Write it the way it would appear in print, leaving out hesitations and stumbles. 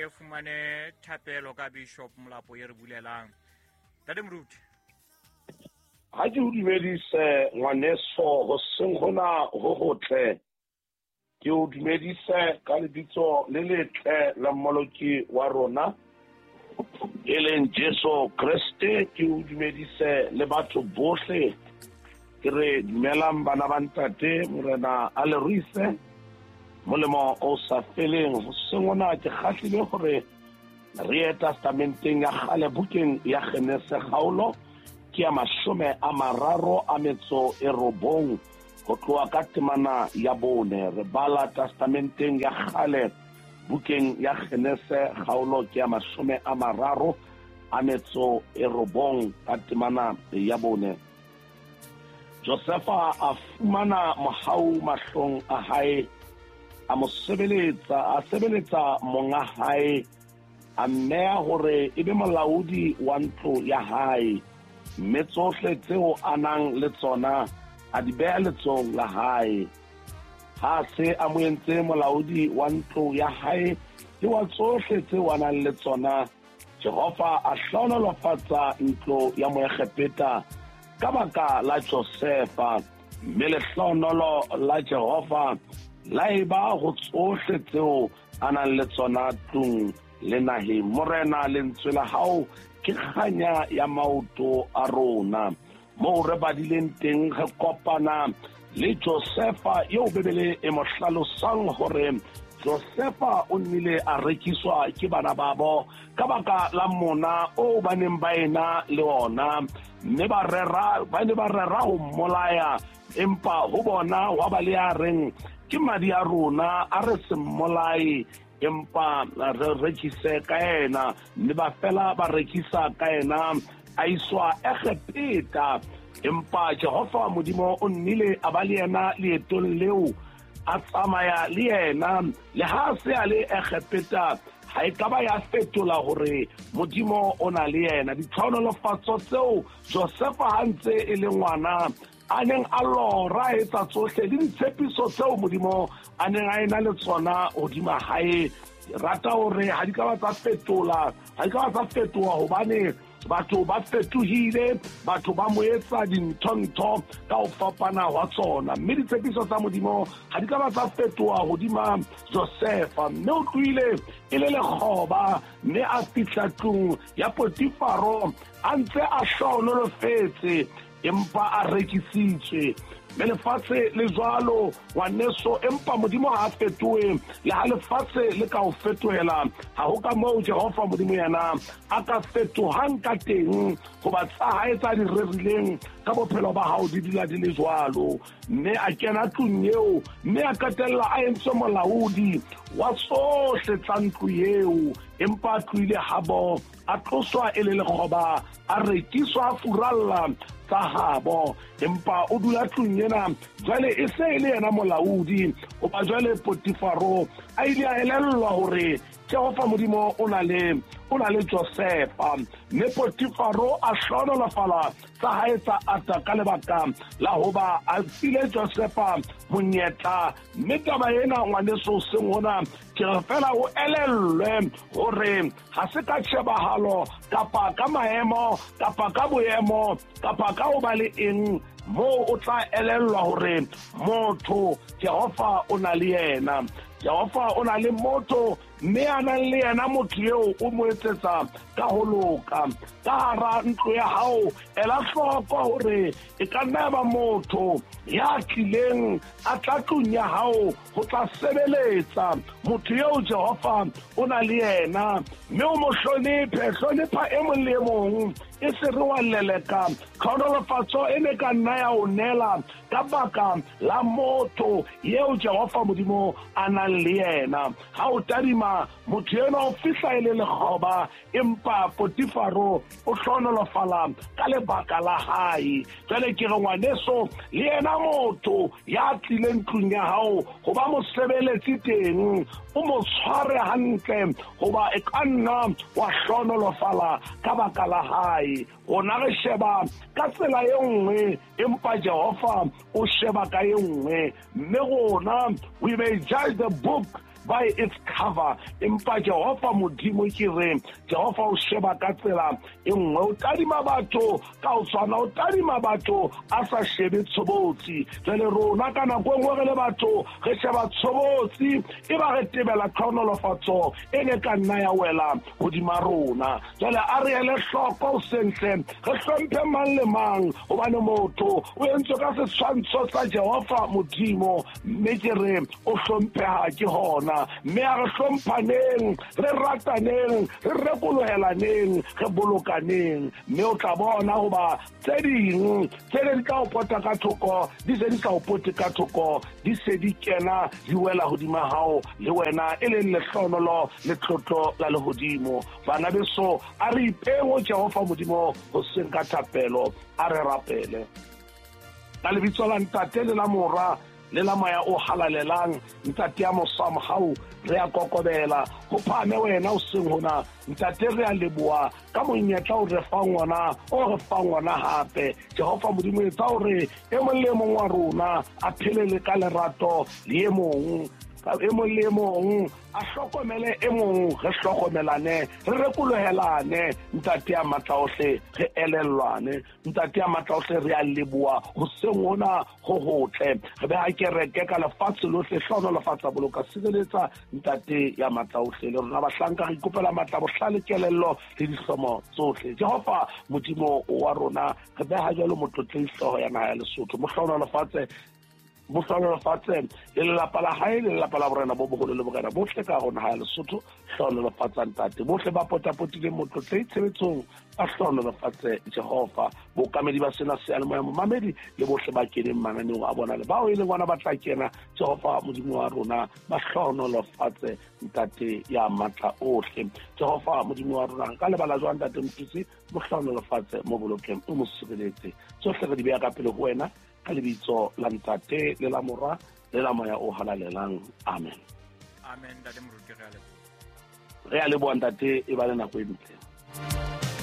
re fumane thapelo ka Bishop Molapo e re bulelang. Ntate Moruti. Ha ke o dumedise ngwaneso, hoseng hona ho hotle. Ke o dumedise ka lebitso le letle la Mmoloki wa rona, e leng Jesu Kreste. Ke o dumedise le batho bohle. Ke re dumelang bana ba ntate, Morena a le ruise molemo o sa feleng. Hoseng hona ke kgahlile hore re ye testamenteng ya kgale, bukeng ya Genese, kgaolo ke ya 39, ho tloha ka temana ya 4. Re bala testamenteng ya kgale, bukeng ya Genese, kgaolo ke ya 39 ka temana ya 4. Josefa a fumana mohau mahlong a hae, a mo sebeletsa, a sebeletsa monga hae, a mmeya hore e be molaodi wa ntlo ya hae, mme tsohle tseo a nang le tsona a di beha letsohong la hae. Ha se a mo entse molaodi wa ntlo ya hae le wa tsohle tseo a nang le tsona, Jehova a hlohonolofatsa ntlo ya Moegepeta ka baka la Josefa, mme lehlohonolo la Jehova la eba ho tsohle tseo a nang le tsona tlung le naheng. Morena, lentswe la hao ke kganya ya maoto a rona. Moo re badileng teng re kopana le Josefa eo Bibele e mo hlalosang hore Josefa o nnile a rekiswa ke bana babo ka baka la mona o ba neng ba ena le ona, mme ba rera, ba ne ba rera ho mmolaya, empa ho bona wa ba le ya reng ke madi a rona, a re se mmolaye, empa re rekise ka yena. Mme ba fela ba rekisa ka yena, a iswa Egepeta. Empa Jehova Modimo o nnile a ba le yena leetong leo, a tsamaya le yena le ha se a le Egepeta. Ha e ka ba ya fetola hore Modimo o na le yena. Ditlhohonolofatso tseo Josefa ha ntse e le ngwana a neng a lora a etsa tsohle, le ditshepiso tseo Modimo a neng a ena le tsona hodima hae, rata hore ha di ka ba tsa fetola, ha di ka ba tsa fetoha, hobane batho ba fetohile, batho ba mo etsa dintho-ntho ka ho fapana hwa tsona, mme ditshepiso tsa Modimo ha di ka ba tsa fetoha hodima Josefa. Mme o tlohile e le lekgoba, mme a fihla tlung ya Potifaro a ntse a hlohonolofetse, empa a rekisitswe. Mme lefatshe le jwalo, ngwaneso, empa Modimo ha a fetohe. Le ha lefatshe le ka o fetohela, ha ho ka moo Jehova Modimo yena a ka fetohang ka teng, hoba tsa hae tsa di rerileng ka bophelo ba hao di dula di le jwalo. Mme a kena tlung eo, mme a qetella a entswe molaodi wa tsohle tsa ntlo eo, empa a tlohile habo, a tloswa e le lekgoba, a rekiswa, a furalla tsa habo, empa o dula tlung ena jwale e se e le yena molaodi. Hoba jwale Potifaro a ile a elellwa hore Jehova Modimo o na le Josefa, mme Potifaro a hlohonolofala tsa hae tsa ata ka lebaka la hoba a file Josefa monyetla. Mme taba ena, ngwaneso, seng hona ke re fela o elellwe hore ha se ka tjhebahalo kapa ka maemo kapa ka boemo kapa ka ho ba le eng moo o tla elellwa hore motho Jehova o na le yena. Jehova o na le motho, mme a nang le yena motho eo o mo etsetsa ka ho loka. Ka hara ntlo ya hao, ela hloko hore e ka nna ya ba motho ya tlileng a tla tlung ya hao ho tla sebeletsa. Motho eo Jehova o na le yena, mme o mo hlonephe. Hlonepha e mong le e mong, e se re wa leleka tlhohonolofatso e ne ka nna ya o neela ka baka la motho eo Jehova Modimo a nang le yena. Ha o tadima motho enwa o fihla e le lekgoba, empa Potifaro o hlohonolofala ka lebaka la hae. Jwale ke re ngwaneso, le yena motho ya tlileng tlung ya hao ho ba mosebeletsi teng, o mo tshware hantle, hoba e ka nna wa hlohonolofala ka baka la hae. Rona re sheba ka tsela e nngwe, empa Jehova o sheba ka e nngwe. Mme rona, we may judge the book by its cover. Empa Jehova Modimo ke re, Jehova o sheba ka tsela e nngwe, o tadima batho ka o tshwana, o tadima batho a sa shebe tshobotsi. Jwale rona ka nako e nngwe re le batho re sheba tshobotsi, e ba re tebela tlhohonolofatso e ne ka nna ya wela hodima rona. Jwale a re ele hloko sentle, re hlomphe mang le mang, hobane motho o entswe ka setshwantsho sa Jehova Modimo, mme ke re o hlompheha ke hona. Mme a re hlomphaneng, re rataneng, re rekolohelaneng, re bolokaneng, mme o tla bona hoba tse ding tse ne di tla o pota ka thoko di se di sa o pote ka thoko, di se di kena di wela hodima hao le wena, e leng lehlohonolo le tlotlo la lehodimo. Bana beso, a re ipeng ho Jehova Modimo hoseng ka thapelo, a re rapele. Ka lebitso la Ntate le la Mora le la Moya o Halalelang, Ntate ya mosa mohau, re a kokobela ho phahame wena o seng hona. Ntate, re a leboha ka monyetla o re fang ona, o re fang ona hape. Jehova Modimo, etsa hore e mong le e mong wa rona a phele le ka lerato le e mong, e mong le e mong a hlokomele e mong, re hlokomelane, re rekolohelane. Ntate ya matla ohle, re elellwane. Ntate ya matla ohle, re a leboha hoseng hona ho hotle. Re beha kereke ka lefatshe lohle, hlohonolofatsa, boloka, sireletsa. Ntate ya matla ohle, le rona bahlanka re ikopela matla, bohlale, kelello le dihlomo tsohle. Jehova Modimo wa rona, re beha jwalo motlotlehi hlooho ya naha ya Lesotho, mo hlohonolofatse, mo hlohonolofatse le lelapa la hae le lelapa la borena bo boholo le borena bohle ka rona ha ya Lesotho. Hlohonolofatsa ntate bohle ba potapotileng motlotlehi tshebetsong, ba hlohonolofatse Jehova. Bookamedi ba sena seyalemoya, momamedi le bohle ba keneng mananeong a bona le bao e leng bona ba tla kena, Jehova Modimo wa rona, ba hlohonolofatse ntate ya matla ohle. Jehova Modimo wa rona, ka lebala jwang ntate Motutsi, mo hlohonolofatse, mo bolokeng, o mo sireletse. Tsohle re di beha ka pele ho wena, ka lebitso la Ntate le la Mora le la Moya o Halalelang, amen. Amen. Ntate Moruti, re a leboha. Re a leboha ntate, e ba le nako e ntle.